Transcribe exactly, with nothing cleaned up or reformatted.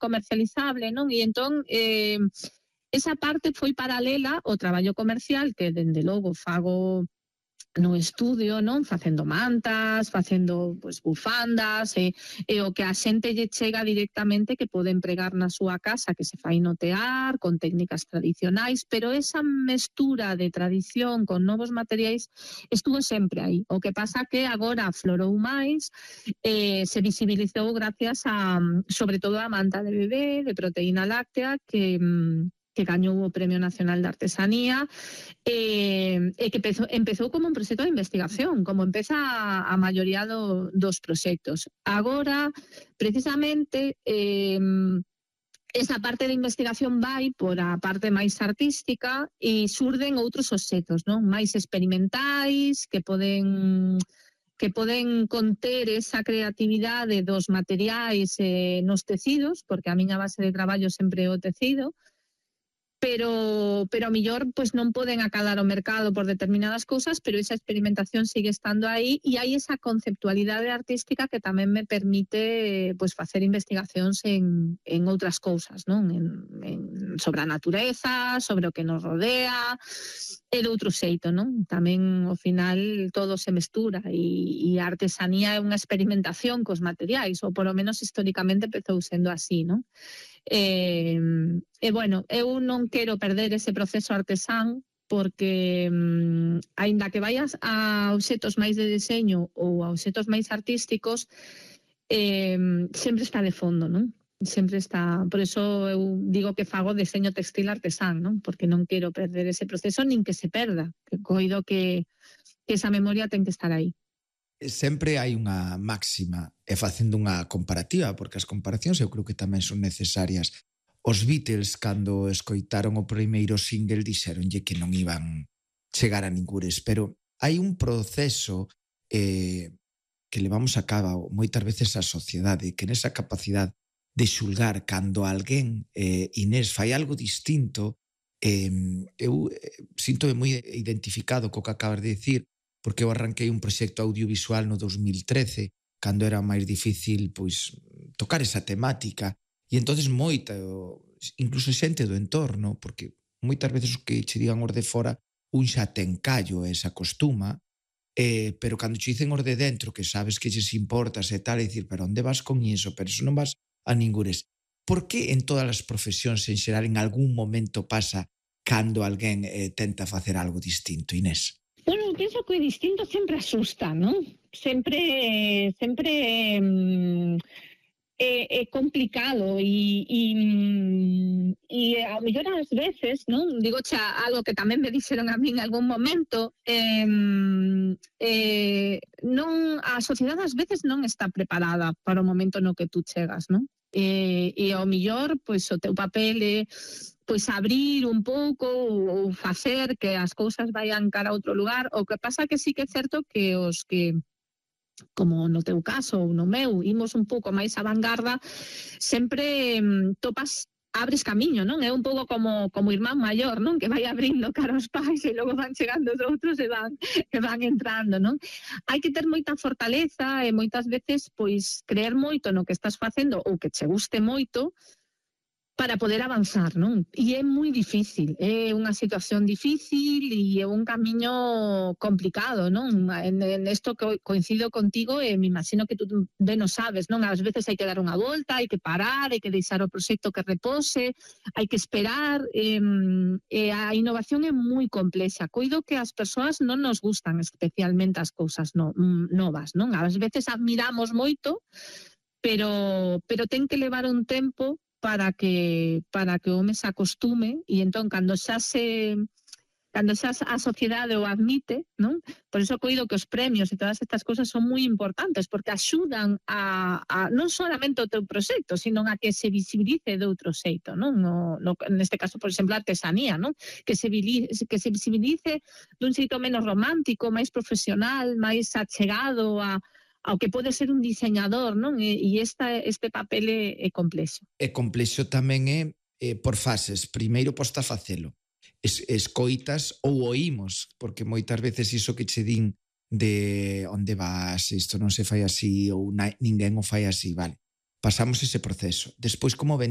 comercializable, non? E entón, eh, esa parte foi paralela ao traballo comercial que, dende logo, fago no estudio, non? Facendo mantas, facendo pues, bufandas, e, e o que a xente lle chega directamente que pode empregar na súa casa, que se fai no tear, con técnicas tradicionais, pero esa mestura de tradición con novos materiais estuvo sempre aí. O que pasa que agora aflorou máis, eh, se visibilizou gracias a, sobre todo, a manta de bebé, de proteína láctea, que... que gañou o Premio Nacional de Artesanía, e, e que empezou, empezou como un proxecto de investigación, como empeza a, a maioría do, dos proxectos. Agora, precisamente, eh, esa parte de investigación vai por a parte máis artística e surden outros obxectos, non? Máis experimentais, que poden... que poden conter esa creatividade dos materiais eh, nos tecidos, porque a miña base de traballo sempre é o tecido, pero pero a mellor pues, non poden acadar o mercado por determinadas cousas, pero esa experimentación sigue estando aí e hai esa conceptualidade artística que tamén me permite pues, facer investigacións en, en outras cousas, non? En, en, sobre a natureza, sobre o que nos rodea, e de outro xeito, non? Tamén, ao final, todo se mestura e, e a artesanía é unha experimentación cos materiais, ou polo menos históricamente empezou sendo así, non? E, e bueno, eu non quero perder ese proceso artesán porque mm, aínda que vayas a obxetos máis de deseño ou a obxetos máis artísticos, eh, sempre está de fondo, non? Sempre está, por eso eu digo que fago deseño textil artesán, non? Porque non quero perder ese proceso nin que se perda, que coido que, que esa memoria ten que estar aí. Sempre hai unha máxima, e facendo unha comparativa, porque as comparacións eu creo que tamén son necesarias. Os Beatles, cando escoitaron o primeiro single, dixeronlle que non iban chegar a ningures, pero hai un proceso eh, que levamos a cabo moitas veces a sociedade, que nesa capacidade de xulgar cando alguén, eh, Inés, fai algo distinto, eh, eu eh, sinto moi identificado co que acabas de dicir, porque eu arranquei un proxecto audiovisual no dos mil trece, cando era máis difícil pois, tocar esa temática, e entonces moita, incluso xente do entorno, porque moitas veces o que che digan os de fora, un xa ten callo e se acostuma, eh, pero cando che dicen os de dentro, que sabes que lles importas e tal, e dicir, pero onde vas con iso? Pero iso non vas a ningures. Por que en todas as profesións en xeral en algún momento pasa cando alguén eh, tenta facer algo distinto, Inés? Bueno, penso que o distinto sempre asusta, non? Sempre, sempre mm, é, é complicado e, e, e a mellor ás veces, non? Digo xa algo que tamén me dixeron a mí en algún momento, eh, eh, non, a sociedade ás veces non está preparada para o momento no que tú chegas, non? E, e ao mellor, pois, o teu papel é pois abrir un pouco ou facer que as cousas vayan cara a outro lugar. O que pasa que sí que é certo que os que, como no teu caso ou no meu, imos un pouco máis a vanguarda, sempre mm, topas, abres camiño, non? É un pouco como como irmán maior, non? Que vai abrindo cara aos pais e logo van chegando os outros e van, e van entrando, non? Hai que ter moita fortaleza e moitas veces, pois, creer moito no que estás facendo ou que che guste moito, para poder avanzar, non? E é moi difícil, é unha situación difícil e é un camiño complicado, non? En, en esto que coincido contigo e me imagino que tú ben o sabes, non? Ás veces hai que dar unha volta, hai que parar, hai que deixar o proxecto que repose, hai que esperar, e, e a innovación é moi complexa. Coido que as persoas non nos gustan especialmente as cousas no, novas, non? Ás veces admiramos moito, pero, pero ten que levar un tempo para que para que o home se acostume e entón cando xa se cando xa a sociedade o admite, non? Por iso coido que os premios e todas estas cousas son moi importantes porque axudan a, a non solamente o teu proxecto, sino a que se visibilice de outro xeito, non? No, no, neste caso, por exemplo, a artesanía, non? Que se, que se visibilice dun xeito menos romántico, máis profesional, máis achegado a ao que pode ser un diseñador, non? E, e esta, este papel é, é complexo. É complexo tamén é, é por fases. Primeiro posta a facelo. Es, escoitas ou oímos, porque moitas veces iso que che din de onde vas, isto non se fai así, ou na, ninguén o fai así, vale. pasamos ese proceso. Despois, como ben